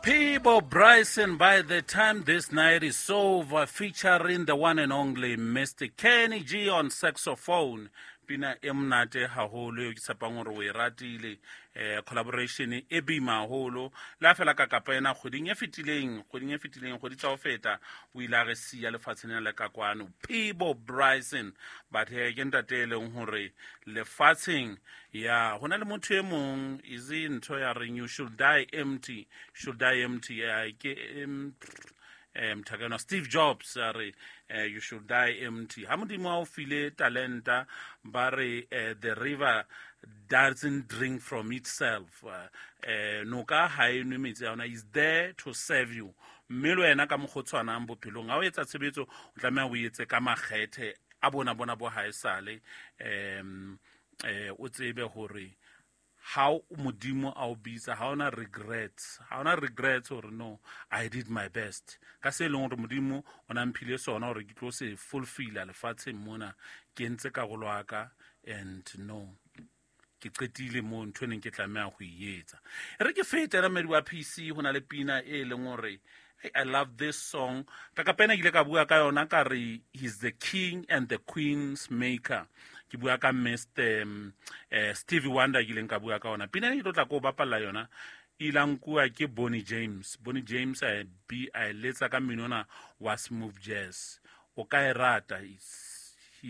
Peabo Bryson, by the time this night is over, featuring the one and only Mr. Kenny G on saxophone. Pina e monate haholo eo ke tshepang gore o e ratile. Collaboration e boima haholo. Le ha fela ka kapa ena kgweding e fetileng, kgweding e fetileng, kgwedi tsa ho feta, o ile a re siya lefatsheng lena le ka kwano. Peabo Bryson, but ke ntate e leng hore lefatsheng ya ho na le motho e mong is ntho ya reng you should die empty, should die empty. Ke mthakeno Steve Jobs a re you should die empty. Ha Modimo a o file talenta, ba re the river doesn't drink from itself. Noka ha e nwe metsi a yona, is there to serve you. Mme le wena ka mokgwa o tshwanang bophelong, ha o etsa tshebetso, o tlameha o etse ka makgethe a bona bona bo haesale. O tsebe hore ha Modimo a o bitsa, ha ona regrets, ha ona regrets hore no, I did my best ka se leng hore Modimo o na mphile sona hore ke tlo se fulfilla lefatsheng mona. Ke entse karolo ya ka and no, ke qetile mo ntho e neng ke tlameha ho e etsa. E re ke fete la mmedi wa PC, ho na le pina e leng hore hey, I love this song. Ka kapena ke ile ka bua ka yona ka re he's the king and the queen's maker. Ke bua ka Mr. Stevie Wonder ke ileng ka bua ka yona. Pina e ke tlo tla ko bapalla yona e ile nkuwa ke Boney James. Boney James a bi a e letsa ka mmino ona wa smooth jazz. O ka e rata.